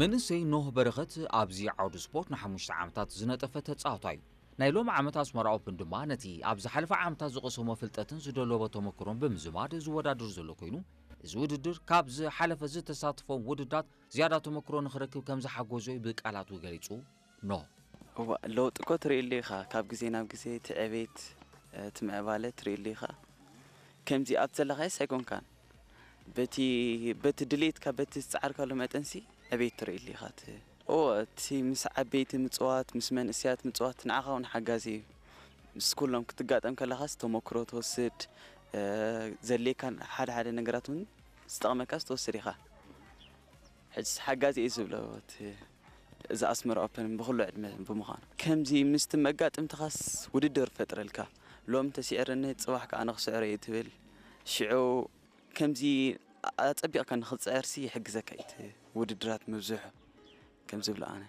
መንእሰይ ኖህ በረኸት ኣብዚ ዓውዲ ስፖርት ንሓሙሽተ ዓመታት ዝነጠፈ ተጻዋታይ እዩ። ናይ ሎም ዓመት ኣስመራ ኦፕን ድማ ነቲ ኣብ ዝሓለፈ ዓመታት ዝቐሰሞ ፍልጠትን ዝደለቦ ተመክሮን ብምዝማድ ዝወዳደር ዘሎ ኮይኑ፣ እዚ ውድድር ካብ ዝሓለፈ ዝተሳተፎም ውድድራት ዝያዳ ተመክሮ ንኽረክብ ከም ዝሓገዞ እዩ ብቃላቱ ገሊጹ። ኖህ። እዋ፣ ለውጢ እኮ ትርእየሉ ኢኻ። ካብ ግዜ ናብ ግዜ እቲ ዕቤት፣ እቲ ምዕባለ ትርእየሉ ኢኻ። ከምዚ ኣብ ዘለኻዮስ ኣይኮንካን። በቲ በቲ ድሌትካ፣ በቲ ዝጸዓርካሉ መጠንሲ ዕቤት ትርእየሉ ኢኻ። እቲ ኦ፣ እቲ ምስ ዓበይቲ ምጽዋት፣ ምስ መንእሰያት ምጽዋት ንዓኻ እውን ሓጋዚ እዩ። ምስ ኩሎም ክትጋጠም ከለኻስ ተመክሮ ትወስድ፣ ዘድልየካ ሓደ ሓደ ነገራት እውን ዝጠቕመካስ ትወስድ ኢኻ። ሕጅስ ሓጋዚ እዩ ዝብሎ እቲ እዚ ኣስመራ ኦፕን ብኹሉ ዕድመ ብምዃኑ። ከምዚ ምስቲ መጋጥምትኻስ ውድድር ፈጥረልካ። ሎም ተስዒርኒ ጽባሕ ከኣ ንኽስዕሮ እዩ ትብል። ሽዑ ከምዚ ኣጸቢቕካ ንኽትጽዕርሲ ይሕግዘካ እዩ እቲ ውድድራት ምብዝሑ ከም ዝብሎ ኣነ።